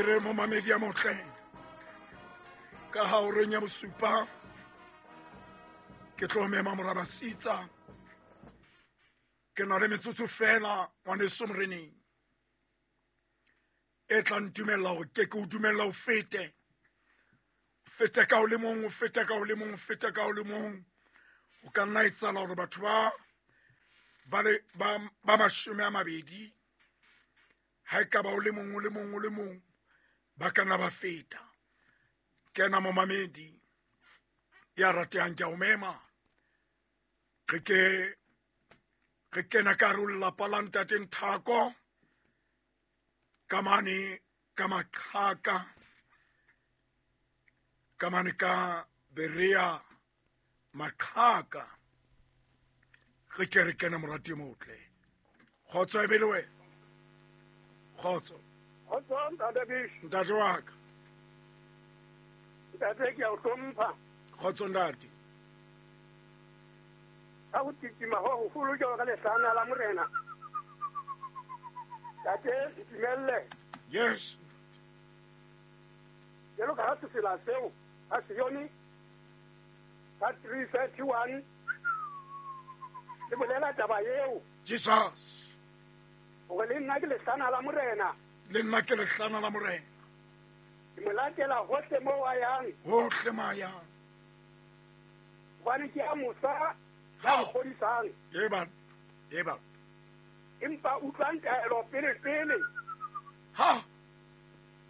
E re momamedi ya motle ka ha o reng ya bosupa ke tlo mema morabasitsa ke na le metsotso fela ngwaneso moreneng e tla ntumella gore ke ke o dumella o fete fete ka o le mong o fete ka o le mong o fete ka o le mong o ka nna e tsala gore batho ba 20 ha e ka ba o le mong o le mong o le mong ba ka nna ba feta. Kena momamedi ya ratehang ke a o mema re ke re kena ka hare ho lelapa la ntate Nthako ka mane ka Maqhaka ka mane ka Berea Maqhaka re ke re kena morati motle. Kgotso e be le wena. Kgotso. Kgotso ntate Bish. Ntate wa ka. Ntate ke a o hlompha. Kgotso ntate. Ka ho titima ho holo jwalo ka lehlana la morena. Ntate ntumelle. Yes. Jwalo ka ha sefela seo a Sione ka 3:31 le bolela taba eo. Jesus. Hore le nna ke lehlana la morena. Le nna ke lehlana la morena. Ke mo latela hohle moo a yang. Hohle mo a yang. Hobane ke a mosa ya kgodisang. Eba. Eba. Empa utlwang taelo pele pele. Ha.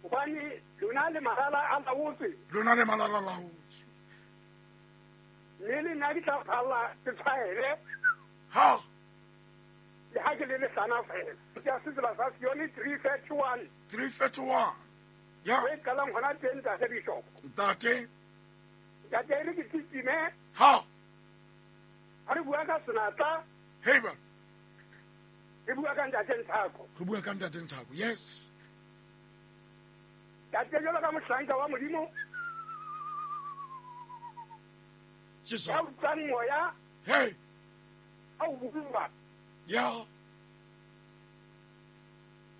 Hobane lona le malala a laotswe. Lona le malala a laotswe. Mme le nna ke tla phalla ke tshwaele. Ha. Le ha ke le lehlana fela. Ke a setsela sa Sione 3:31. 3:31. Ya. O e qalang hona teng ntate Bishop. Ntate. Ntate re ke titime. Ha. Ha re bua ka senatla. Hey ba. Re bua ka ntate Nthako. Re bua ka ntate Nthako. Yes. Ntate jwalo ka mohlanka wa Modimo. Jesus. Ya utlwang moya. Hey. A o bua. Ya.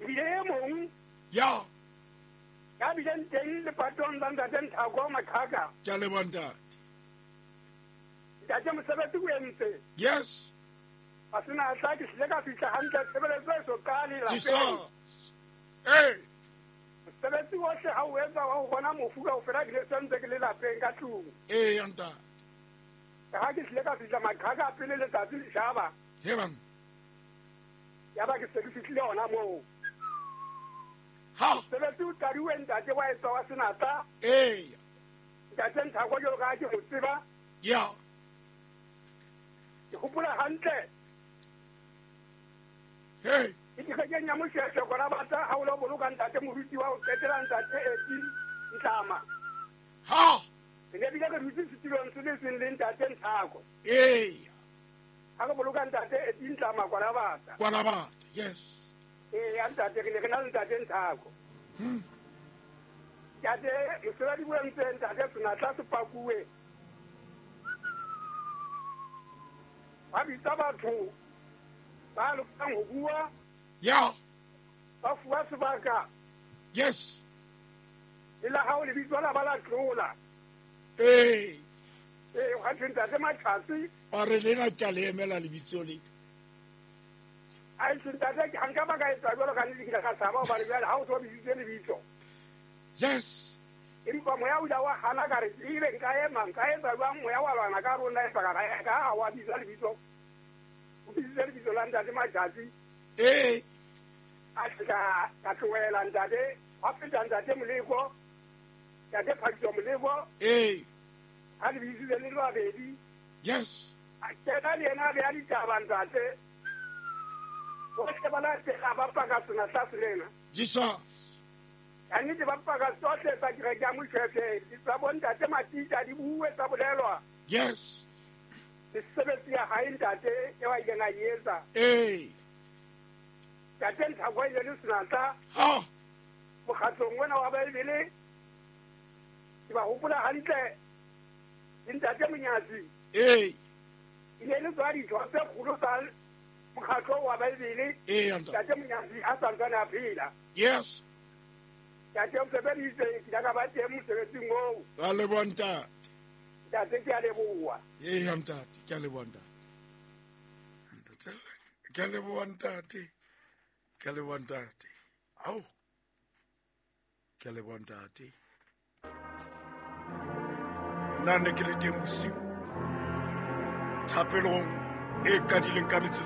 Ebile e mong. Ya. Ya bileng teng lepatong la ntate Nthako Maqhaka. Ke a leboha ntate. Ntate mosebetsi o entse. Yes. A sena tla ke hlile ka fihla hantle tshebeletso e so qale lapeng. Jesus. Hey. Mosebetsi ohle ha o etsa wa ho bona mofu kaofela ke le sentse ke le lapeng ka tlung. Ee, ntate. Ha ke hlile ka fihla Maqhaka pele letsatsi le tjhaba. He bang. Ya ba ke se ke fihlile hona moo. Ha. Mosebetsi o qadiwe ntate wa etswa wa senatla. Ee. Ntate Nthako jwalo ka ha ke mo tseba. Ya. Ke hopola hantle. Hey. Ke kerekeng ya Moshweshwe kona batla ha o lo boloka ntate moruti wa ho qetela ntate Eti Ntlama. Ha. Re ne bile re dutse setulong se le seng le ntate Nthako. Ee. Ha re boloka ntate Eti Ntlama kwana batla. Kwana batla, yes. Ee, ya ntate re ne re na le ntate Nthako. Ntate mosebetsi o entse ntate senatla se pakuwe. Ba bitsa batho ba lokang ho bua. Ya. Ba fuwa sebaka. Yes. Le la hao lebitso la ba la tlola. Ee. Ee, hwa thwe ntate Matjhatsi. A re lena ke a le emela lebitso le. Ai, ntate, ha nka ba ka etsa jwalo ka nnete ke ile ka tshaba hobane jwale ha o so bitsitse lebitso. Yes. Empa moya o ile wa hana ka re ebe nka ema, nka etsa jwang moya wa lwana ka rona empa ka ka ha wa bitsa lebitso. O bitsitse lebitso la ntate Matjhatsi. Ee. A fihla ka tlohela ntate, hwa feta ntate Moleko. Ntate Phadiso Moleko. Ee. Ha le bitsitse le le babedi. Yes. A kena le yena a beha ditaba ntate. Bohle ba latela ba paka senatla selena. Jesus. Ka nnete ba paka tsohle tsa kereke ya Moshweshwe, tsa bo ntate Matita di bue tsa bolelwa. Yes. Mesebetsi ya hae ntate eo a ileng a e etsa. Ee. Ntate Nthako e ne le senatla. Ha. Mokgatlong ona wa Bibele ke ba hopola hantle le ntate Monyatsi. Ee. E ne le tswa ditho tse kgolo tsa mokgatlo wa Bibele. Ee, ntate. Ntate Monyatsi a santsane a phela. Yes. Ntate o sebeditse, ke ile ka ba teng mosebetsing oo. Ra leboha ntate. Ntate ke a leboha. Eya ntate, ke a leboha ntate. Ntate, ke a leboha ntate. Ke a leboha ntate. Ao. Ke a leboha ntate. Nna ne ke le teng bosiu. Thapelong e qadileng ka metsotso